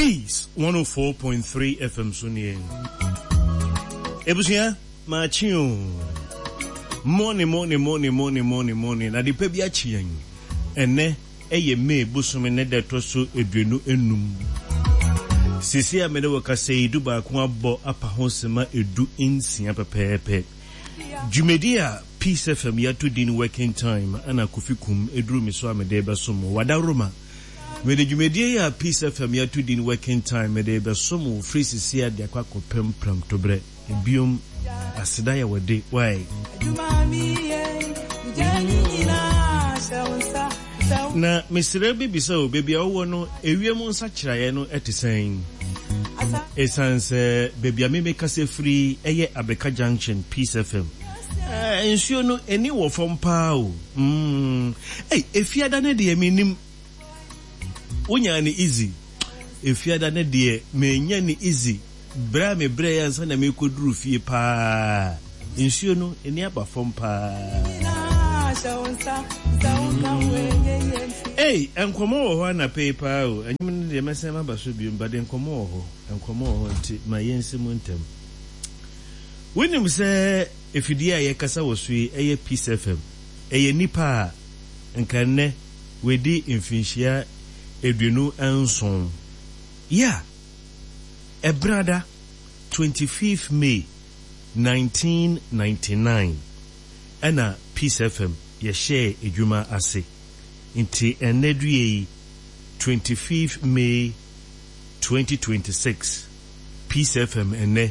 Peace 104.3 FM so nie. Ebusua, maakye o. Morning, morning, morning, morning, morning, morning. Ade pa bi akye yɛn. Ɛnɛ ɛyɛ May bosome ne da ɛtɔ so 25. Sisi a mene wɔ kasa yi 11 abɔ apa ho sema 16 pɛpɛɛpɛ. Dwumadi a Peace FM yɛato din Working Time ana Kofi Kum eduru me so a mede bɛsom wo. Wadaroma. Mede dwumadie yi a Peace FM yɛato din Working Time mede rebɛsom wo firi sisi a de akɔ akɔpem prɛmtoberɛ. Ebiom, aseda yɛ wo de, wai. Na mesrɛ bɛbisa o, baabi a wowɔ no, ewiem nsakyeraeɛ no te sɛn? Ɛsiane sɛ baabi a me mekasa firi yɛ Abeka Junction, Peace FM. Eh, nsuo no, ani wɔ fam paa o. Mm. Ei, Efiada no deɛ mennim. Wonyaa no easy. Efiada no deɛ menya no easy. Brɛ a mebrɛɛ ansa na merekɔduru fie paa. Nsuo no, ani aba fam paa. Ei, nkɔmmɔ wɔ hɔ anapa yi paa o. Ɛnwom no deɛ mɛsan maba so biom, but nkɔmmɔ wɔ hɔ. Nkɔmmɔ wɔ hɔ nti ma yɛnsi mu ntɛm. Wonim sɛ afidie a yɛkasa wɔ so yi yɛ Peace FM. Ɛyɛ nnipa a nka nnɛ wɔadi mfinhyia 27. Yeah! Ɛbenada, 25th May, 1999 ɛna Peace FM yɛhyɛɛ adwuma ase. Nti ɛnnɛ due yi, 25th May, 2026, Peace FM ɛnnɛ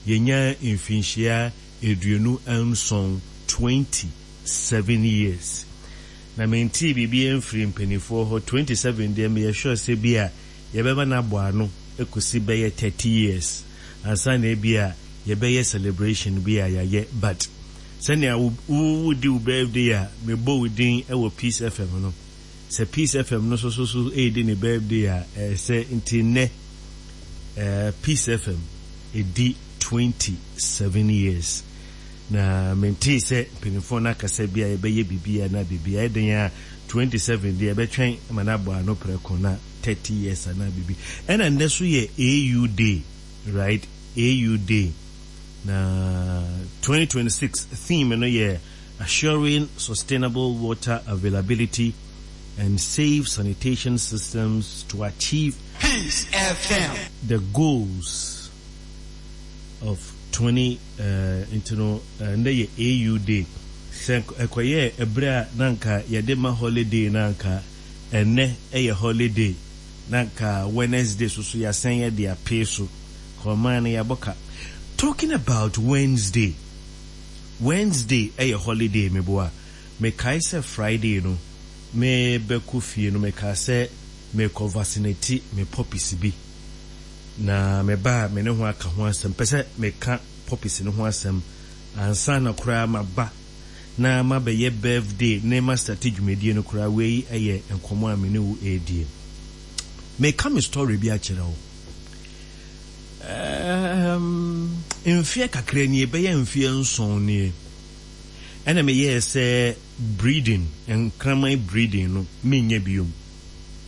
yɛnya mfinhyia 27, 27 years. Na mentee biribiara mfirii mpaninfoɔ hɔ, 27 deɛ meyɛ sure sɛ bi a yɛbɛma no abɔ ano kɔsi bɛyɛ 30 years ansa na ebi a yɛbɛyɛ celebration bi a yɛayɛ, but sɛnea wo wodi wo birthday a mebɔ wo din wɔ Peace FM no, sɛ Peace FM no nso so so redi ne birthday a ɛsɛ nti nnɛ eh, Peace FM ɛdi 27 years. Na mentee sɛ mpanimfoɔ no akasa bi a yɛbɛyɛ biribi anaa biribi. Ɛyɛ den a 27 deɛ yɛbɛtwɛn ma no abɔ ano prɛko na 30 years anaa biribi. Ɛna nnɛ so yɛ AU day, right? AU day. Na 2026 theme no yɛ Assuring Sustainable Water Availability and Safe Sanitation Systems to Achieve Peace FM. the Goals of 20 eh, nti no eh, ndɛ yɛ AU day. Sɛ ɛkɔyɛɛ ɛberɛ a na anka yɛde ma holiday no anka ɛnnɛ yɛ holiday na anka Wednesday so so yɛasan yɛde apee so. Ka ɔman no yɛabɔ ka. Talking about Wednesday, Wednesday yɛ holiday meboa. Mekae sɛ Friday no merebɛkɔ fie no mekaa sɛ merekɔ vaccinate me puppies bi. Na meba a me ne ho aka ho asɛm. Mepɛ sɛ meka puppies no ho asɛm ansa na koraa maba na mabɛyɛ birthday ne ma starte dwumadie no koraa. Wei yɛ nkɔmmɔ a me ne wo redie. Meka me story bi akyerɛ wo. Ɛɛm, mfeɛ kakra nie, bɛyɛ mfeɛ nson nie, ɛna meyɛɛ sɛ breeding, nkraman breeding no, menyɛ biom.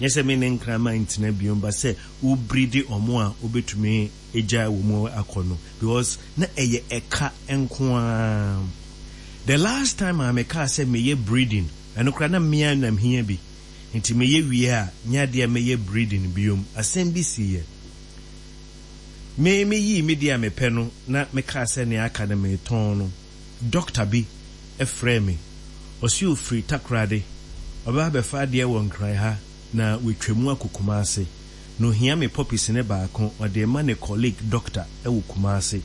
Nyɛ sɛ me ne nkraman ntena biom, but sɛ wo breedi ɔmo a wobɛtumi agyae wɔ mu akɔ no, because na ɛyɛ ɛka nko ara. The last time a mekaa sɛ meyɛ breeding, ɛno koraa na me ara na mehia bi, nti meyɛ wie a, nyɛ adeɛ a mɛyɛ breeding biom. Asɛm bi siiɛ. Me meyii me deɛ a mepɛ no na mekaa sɛ nea aka no meretɔn no, dɔkta bi frɛɛ me. Ɔse ɔfiri Takoradi, ɔbɛba abɛfa adeɛ wɔ Nkran ha na watwa mu akɔ Kumasi. Na ɔhia me puppies no baako, ɔde rema ne colleague dɔkta wɔ Kumasi.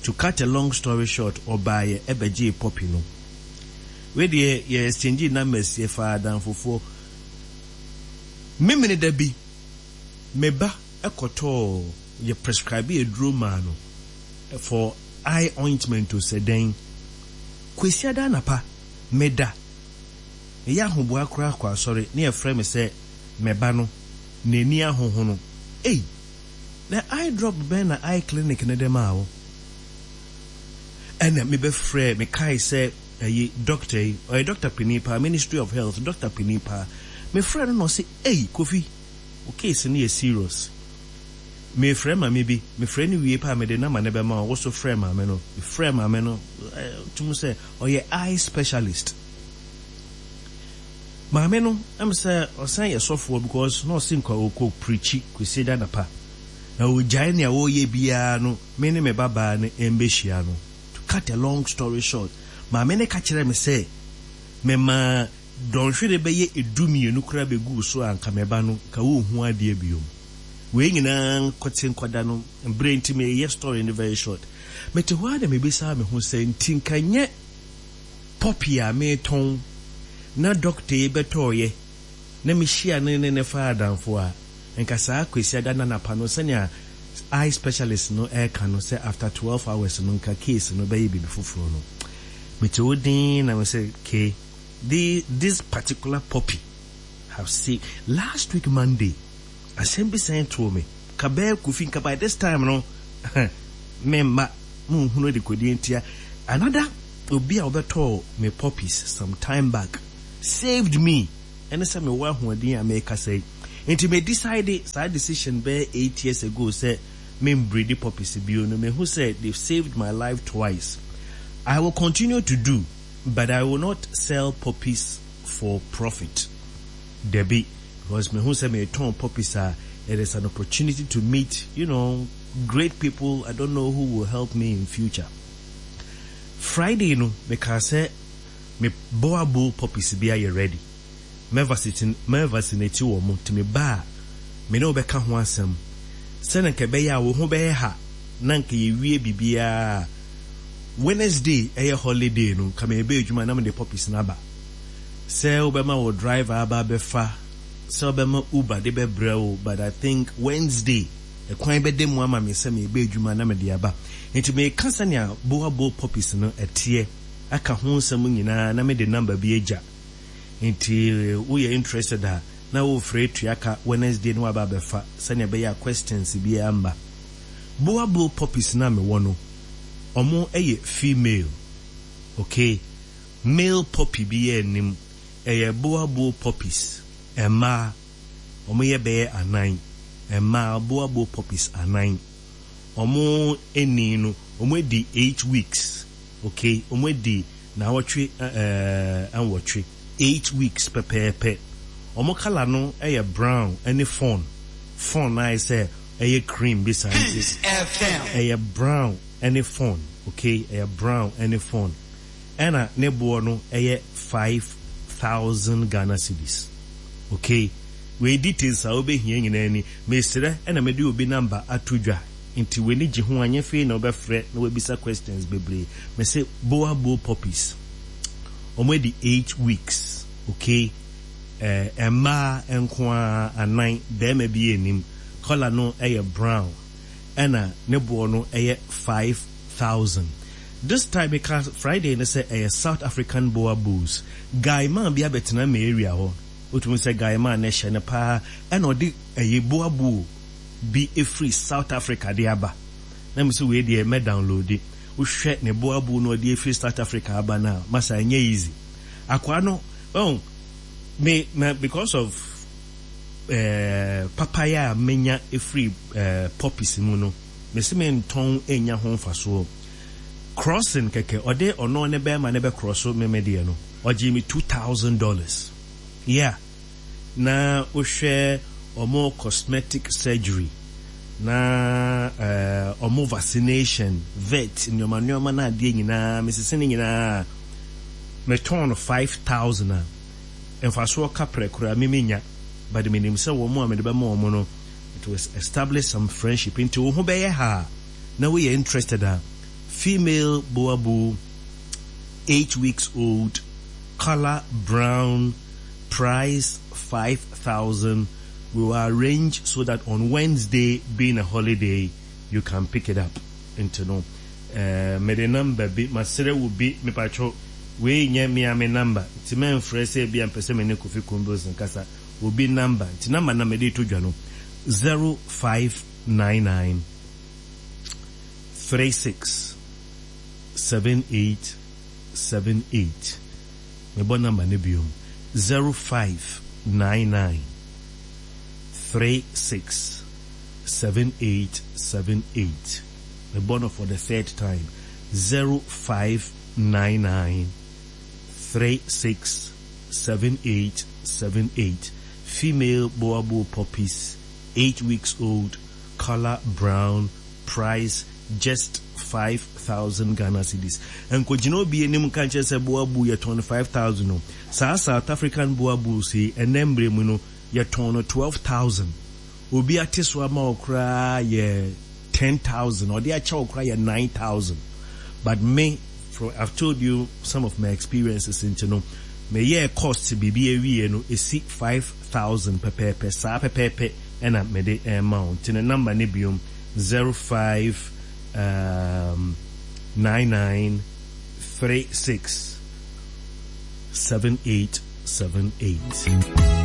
To cut a long story short, ɔbaeɛ bɛgyee puppy no. Wei deɛ yɛ exchangee numbers, yɛfaa adamfofoɔ. Memeneda bi, me ba kɔtɔɔ, yɛ prescribe aduro maa no for eye ointment o sɛ dɛn. Kwasiada anapa, meda, meyɛ ahoboa koraa kɔ asɔre na yɛfrɛ me sɛ me ba no n'ani ahohono. Ei! Na eye drop bɛn na eye clinic no de maa wo? Ɛna mebɛfrɛɛ, mekae sɛ ɛyi doctor yi, ɔyɛ doctor panin paa, Ministry of Health doctor panin paa. Mefrɛɛ no na ɔse, Ei! Kofi, wo case no yɛ serious. Merefrɛ maame bi, mefrɛ no wie pɛ a mede number no bɛma wo, wo so frɛ maame no. Mefrɛɛ maame no, tum sɛ ɔyɛ eye specialist. Maame no, ɛm sɛ ɔsan yɛ sɔfoɔ because na ɔse nka ɔkɔ preachi Kwasiada anapa. Na ɔgyae nea ɔreyɛ biara no, me ne me babaa no mbɛhyia no. To cut a long story short, maame no ka kyerɛɛ me sɛ memaa dɔnhwere bɛyɛ dummienu koraa bɛguu so a nka me ba no, nka ɔnhu adeɛ biom. Wei nyinaa nkote nkɔda no, berɛ nti meyɛ story no very short. Mete hɔ ara na mebisaa me ho sɛ nti nka nyɛ poppy a meretɔn na dɔkta yi bɛtɔeɛ na mehyia no ne no faa adamfo a, nka saa Kwasiada no anapa no sɛnea eye specialist no reka no sɛ after 12 hours no nka case no bɛyɛ biribi foforɔ no. Mete hɔ dinn na mese Kay, this particular poppy have saved, last week Monday, asɛm bi san too me, nka bɛyɛ Kofi, nka by this time no me mma monhunu adekodeɛ ntia. Another obi a ɔbɛtɔɔ me poppies some time back saved me, ɛne sɛ mewɔ ahoɔden a merekasa yi. Nti me decide saa decision bɛyɛ 8 years ago sɛ membreedi poppies bio no, mehu sɛ they've saved my life twice. I will continue to do, but I will not sell poppies for profit. Dabi, because mehu sɛ meretɔn poppies a, it is an opportunity to meet, great people I don't know who will help me in future. Friday no, mekaa sɛ me boa bull poppies bi ayɛ ready. Mɛ vaccinate wɔ mo, nti meba a, me ne wo bɛka ho asɛm. Sɛnea nka ɛbɛyɛ a wo ho bɛyɛ ha na nka yɛwie biribiara a, Wednesday ɛyɛ holiday no, nka meba adwuma na mede poppies no aba. Sɛ wobɛma wo driver aba abɛfa, sɛ wobɛma Uber de bɛbrɛ wo, but I think Wednesday ɛkwan bɛda mu ama me sɛ meba adwuma na mede aba. Nti meka sɛnea boa bull poppies no ɛteɛ aka ho nsɛm nyinaa na mede number bi agya. Nti woyɛ interested a na wofrɛ tua ka Wednesday na waba abɛfa sɛnea ɛbɛyɛ a questions biara mma. Boa bull poppies no a mewɔ no, ɔmo yɛ female, okay? Male poppy biara nnim, ɛyɛ boa bull poppies, mmaa, ɔmo yɛ bɛyɛ anan, mmaa boa bull poppies anan. Ɔmo ani no, ɔmo adi 8 weeks, okay? Ɔmo adi naawɔtwe 8, 8 weeks pɛpɛɛpɛ. Ɔmo colour no yɛ brown ne fawn. Fawn no ayɛ sɛ ɛyɛ cream bi saa nti Peace FM. Ɛyɛ brown ne fawn, okay? Ɛyɛ brown ne fawn. Ɛna ne boɔ no yɛ 5,000 Ghana cedis, okay? Wei details a wobɛhia nyinaa ni. Mesrɛ na mede obi number ato dwa nti w'ani gye ho a nyɛ afei na wobɛfrɛ na wabisa questions bebree. Mese boa bull poppies. Ɔmo adi 8 weeks, okay? Eh, mmaa nko ara anan, barima bi nnim. Colour no yɛ brown ɛna ne boɔ no yɛ 5,000. This time meka Friday no sɛ ɛyɛ South African boa bulls. Guy man bi abɛtena me area hɔ. Wotumi sɛ guy man no hyɛ no paa ɛna ɔde ɛyɛ boa bull bi efiri South Africa de aba. Na mese wei deɛ mɛ download. Wohwɛ ne boa bull no ɔde efiri South Africa aba no a, masa ɛnyɛ easy. Akwaa no, oh, me, me because of papaya a menya efiri poppies mu no, mese mentɔn enya ho mfasoɔ. Crossing kɛkɛ, ɔde ɔno ne bɛrima ne bɛ cross me me deɛ no, ɔgye me $2,000. Yeah. Na wohwɛ ɔmo cosmetic surgery na ɔmo vaccination, vet, nneɛma nneɛma na adeɛ nyinaa, mesese ne nyinaa, metɔn no 5,000 a, mfasoɔ kaprɛ koraa me menya, but menim sɛ wɔn a mede bɛma wɔn no, it will establish some friendship. Nti wo ho bɛyɛ ha a, na woyɛ interested a, female boa bull, 8 weeks old, color brown, price 5,000. We will arrange so that on Wednesday, being a holiday, you can pick it up. Nti no, mede number bi, masrɛ wo bi, mepatwo, wei nyɛ me a me number, nti mɛmfrɛ sɛ bi a mpɛ sɛ me ne Kofi Kumbils nkasa, obi number, nti number na mede to dwa no, 0599 36 78 78. Mebɔ number no biom, 0599 36. 7878. Mebɔ no for the third time, 0599 36 7878. Female Boerboel puppies, 8 weeks old, color brown, price just 5,000 Ghana cedis. Nkɔgyina obi anim nka nkyerɛ sɛ Boerboel yɛtɔn no 5,000 o. Saa South African Boerboels yi, ɛnnɛ mmerɛ mu no, yɛtɔn no 12,000. Obi ate so ama wo koraa yɛ 10,000, ɔde akyɛ wo koraa yɛ 9,000. But me, from I've told you some of my experiences nti no, meyɛɛ cost biribi awieɛ no, ɛsi 5,000 pɛpɛɛpɛ, saa pɛpɛɛpɛ ɛna mede ɛrema wo. Nti no number no biom, 05 um, 99 36 7878.